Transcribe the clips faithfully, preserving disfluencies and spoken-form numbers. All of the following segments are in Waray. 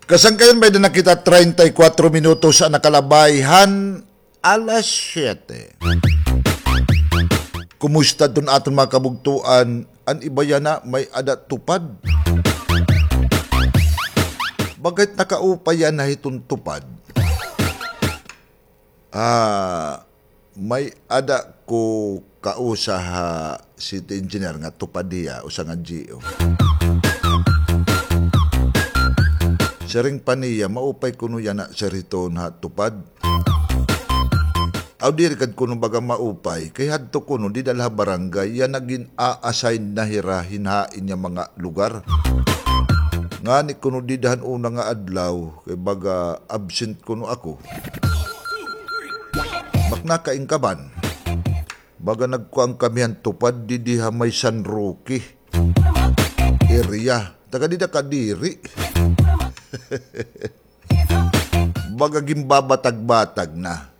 Kasangkayan, may-ada na kita treinta y cuatro minutos an nakalabay han alas siyete. Kumusta iton aton mga kabugtoan? An iba yana may-ada tupad. Bakit nakaupay yana hiton tupad? Ah, may-ada ko kausa ha city engineer nga tupad hiya, usa nga G O. Siring pa niya, maupay kuno yana, sir, hiton ha tupad. Aw, diri gad kuno baga maupay. Kay hadto kuno, dida la ha barangay, yana gin-a-assign na hira hin hain nga mga lugar. Ngani kuno dida han una nga adlaw, kay baga absent kuno ako. Maknakain ka man. Baga nagkuan kami han tupad didi ha may San Roque area. Taga dida ka diri. Baga ginbabatag-batag na.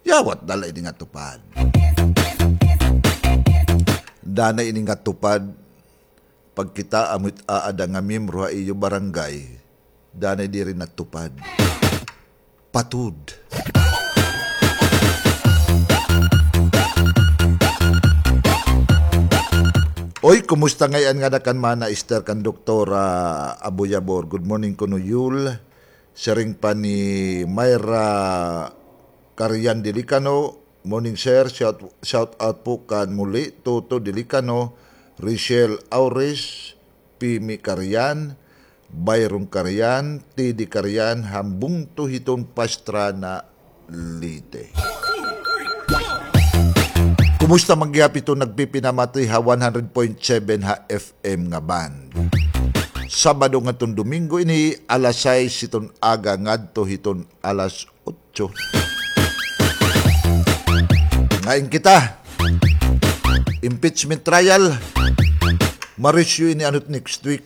Yawat dala ini nga tupad. Danay ini nga tupad. Pagkita amo it aada nga miyembro ha iyo barangay, danay diri natupad. Patud. Oy, kumusta ngay-an ngada kan Mana Esther, kan Doktora Aboyabor? Good morning kuno, Yul. Siring pa ni Myra Carian Dilicano, Morning, sir. Shout, shout out po kan Muli, Toto Dilicano, Richelle Aures, Pimi Carian, Byron Carian, T D Carian, han bungto hiton Pastrana, Leyte. Kumusta man gihap iton nagpipinamati ha one hundred point seven ha F M nga band? Sabado ngadton Domingo ini, alas sais hiton aga ngadto hiton alas otso. Ngain kita. Impeachment trial. Marisyo ini anot next week.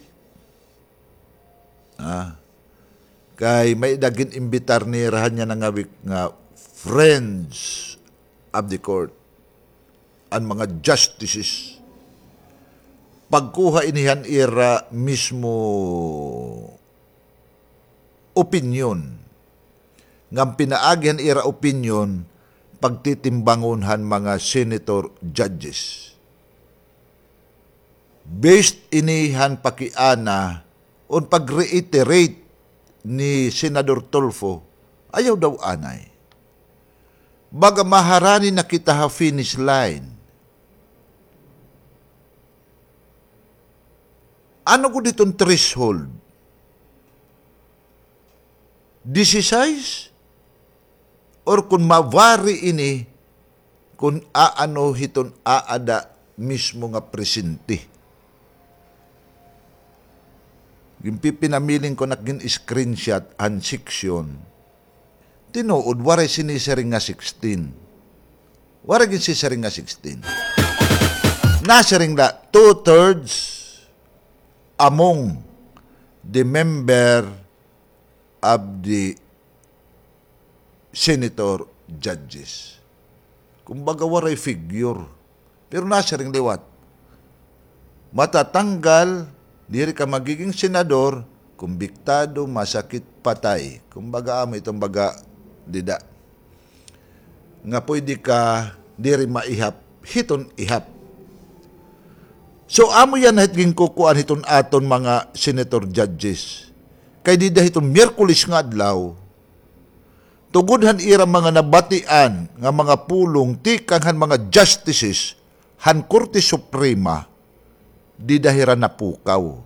Ah. Kay may-ada gin-imbitar nira han yana nga week nga friends of the court. An mga justices. Pagkuha ini han ira mismo opinyon. Ngan pinaagi han ira opinyon, pagtitimbangon han mga senator judges. Based ini han pakiana on pag-reiterate ni Senador Tulfo, ayaw daw anay. Baga maharani na kita ha finish line. Ano gud iton threshold? Disisais? Or kon ma-vary ini, kon aano hiton aada mismo nga presente. Ginpipinamiling ko nak gin-screenshot han section. Tinuod, waray sinisiring nga sixteen. Waray gin sisiring nga sixteen. Nasiring la two-thirds among the member of the senator judges. Kumbaga, waray figure. Pero nasiring liwat, matatanggal, diri ka magiging senador, kumbiktado, masakit, patay. Kumbaga, amo iton baga dida. Nga pwede ka diri maihap hiton ihap. So, amo yana it ginkukuan hiton aton mga senator judges. Kay dida hiton Miyerkules nga adlaw, tugod han ira mga nabatian nga mga pulong tikang han mga justices han Korte Suprema, dida hira napukaw.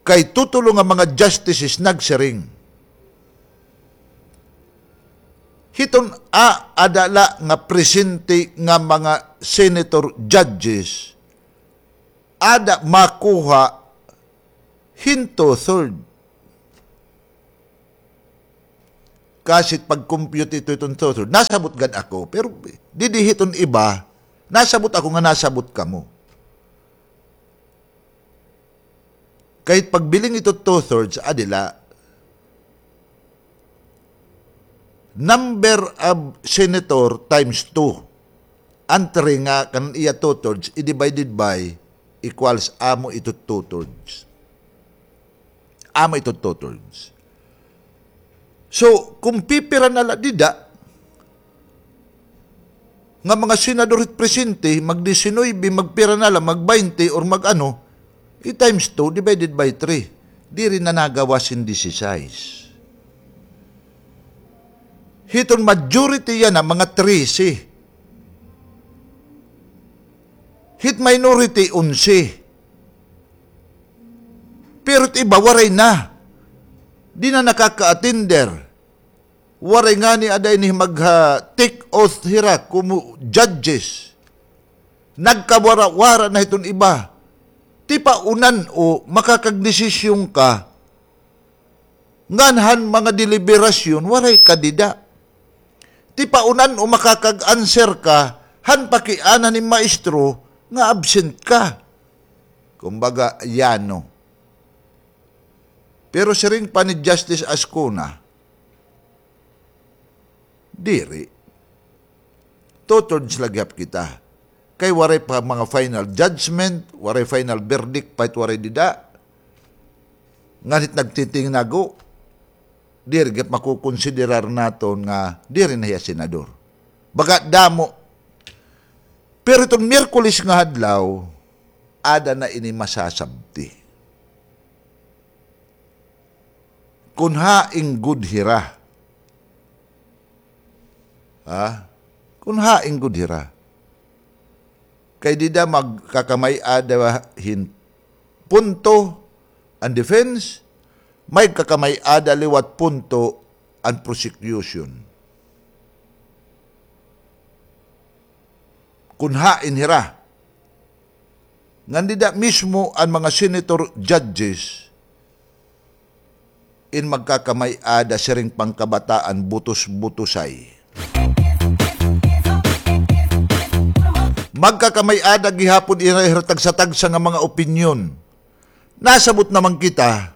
Kay tutulo nga mga justices nagsiring, hiton aada la nga presente nga mga senator judges, ada makuha hin two-third. Kasi pag-compute ito hiton two-third, nasabot gad ako. Pero didi hiton iba, nasabot ako nga nasabot kamo. Kay pagbiling ito two-thirds, adi la. Number of senator times two. An three nga kan iya two-thirds, i-divided by equals amo ito two-thirds. Amo ito two-thirds. So, kung pipira na la dida, nga mga senador hit presente, mag-disinuybe, magpira na la, mag-baynte, or mag-ano, i-times two divided by three. Diri na nagawas hin disisais. Hiton majority yana, mga trese. Hit minority, onse. Pero it iba, waray na. Di na nakaka-attender. Waray ngani ada ini mag, ah, take oath hira komo judges. Nagkawara-wara na hiton iba. Tipaunan o makakagdesisyon ka ngan han mga deliberasyon, waray ka dida. Tipaunan o makakag-answer ka han pakiana ni maestro nga absent ka. Kumbaga, yano. Pero siring pa ni Justice Ascona, diri. Two-thirds la gihap kita. Kay waray pa mga final judgment, waray final verdict pa it waray dida. Ngan hit nagtitingnago, diri gihap makukonsiderar naton nga diri na hiya senador. Baga damo. Pero iton Miyerkules nga adlaw, ada na ini masasabti. Kun hain gud hira. Ha? Kun hain gud hira. Kay dida magkakamay-ada hin punto an defense, magkakamay-ada liwat punto an prosecution. Kun hain hira. Ngan dida mismo an mga senator judges in magkakamay-ada siring pangkabataan butos-butosay. Magkakamay-ada gihapon ira-ira tagsa-tagsa nga mga opinyon. Nasabot naman kita,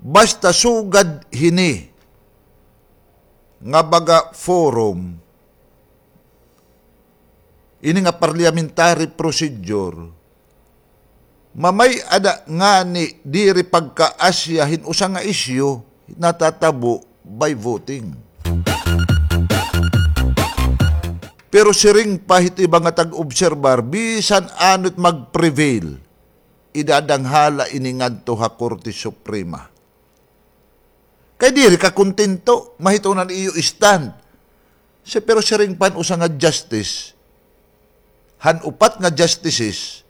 basta sugad hini nga baga forum, ini nga parliamentary procedure, mamay-ada ngani diri pagkaasya hin usa nga isyu, natatabo by voting. Pero siring pa hit iba nga tag-obserbar, bisan ano it mag-prevail, idadanghala ini ngadto ha Korte Suprema. Kay diri ka kontento, mahitungod han iyo stand. Si, pero siring pa han usa nga justice, han upat nga justices,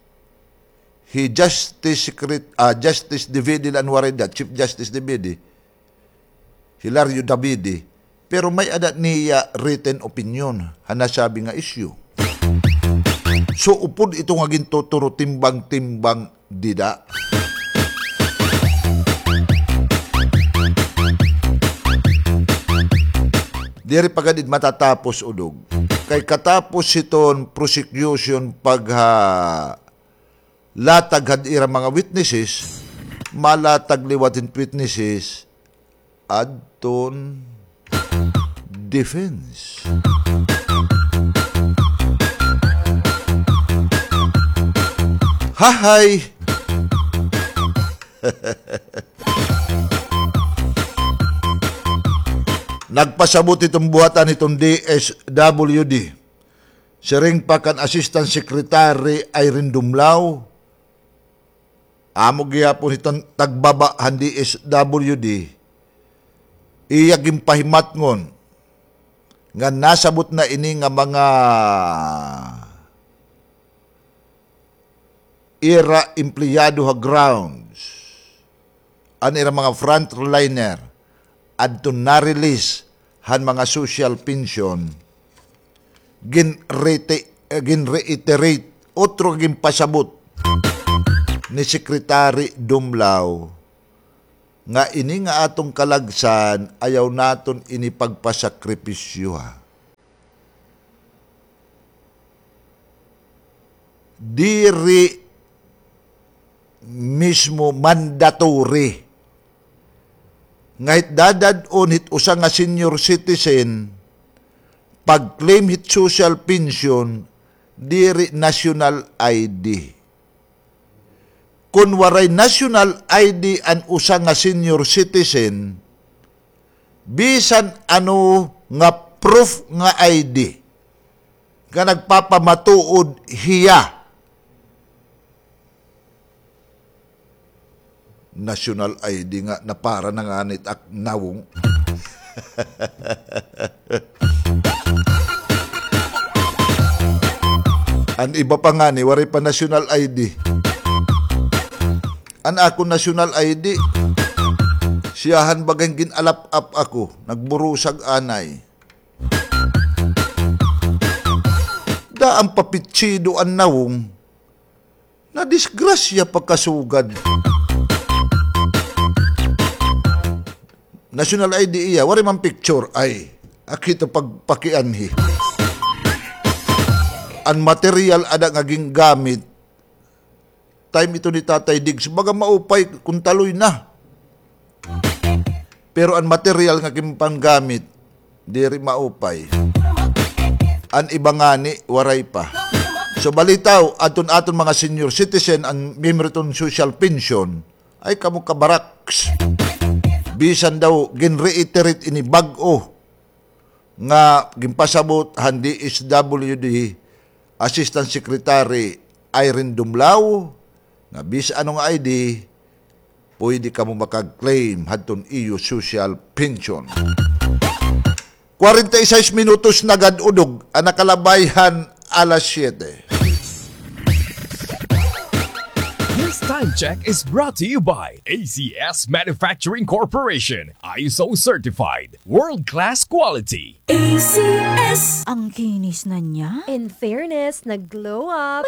hi Justice Secret-, ah, Justice Davide la an waray da, Chief Justice Davide, Hilario Davide, pero may-ada niya written opinion han nasabi nga issue. So, upod ito nga gintuturo timbang-timbang dida. Diri pa gad it matatapos, Udog. Kay katapos hiton prosecution pagha-, latag han ira mga witnesses, malatag liwat hin witnesses adton defense. Hahay! Nagpasabot iton buhatan hiton D S W D. Siring pa kan Assistant Secretary Irene Dumlao, amo gihapon hiton tagbaba han D S W D, iya ginpahimatngon nga nasabot na ini nga mga ira empleyado ha grounds, an ira mga frontliner, adton na-release han mga social pension, ginrete-, eh, ginreiterate, otro ginpasabot ni Secretary Dumlao nga ini nga aton kalagsan, ayaw naton ini pagpasakripisyoha. Diri mismo mandatory nga hit dadad-on hit usa nga senior citizen pag-claim hit social pension, diri national I D. kon waray national I D an usa nga senior citizen, bisan ano nga proof nga I D nga nagpapamatuod hiya. National I D nga napara na ngani it ak nawong. An iba pa ngani, waray pa national I D. An akon national I D, siyahan baga hin gin-alap-ap ako, nagburusag anay. Daan pa pitsido an nawong. Nadisgrasya pa kasugad. National I D iya, waray man picture. Ay, akito pagpakianhi. An material ada nga gingamit, time ito ni Tatay Diggs, baga maupay kon taloy na. Pero an material nga ginpanggamit, diri maupay. An iba ngani, waray pa. So, balitaw, adton aton mga senior citizen, an miyembro hiton social pension, ay kamo kabaraks. Bisan daw, ginreiterate ini bag-o nga ginpasabot han D S W D Assistant Secretary Irene Dumlao, nga bisan ano nga I D, pwede kamo makag-claim hadton iyo social pension. Kwarenta y seis minutos na gad udog an nakalabay han alas siyete. This time check is brought to you by A C S Manufacturing Corporation, I S O certified, world-class quality. A C S. Ang kinis na niya. In fairness, nag-glow up.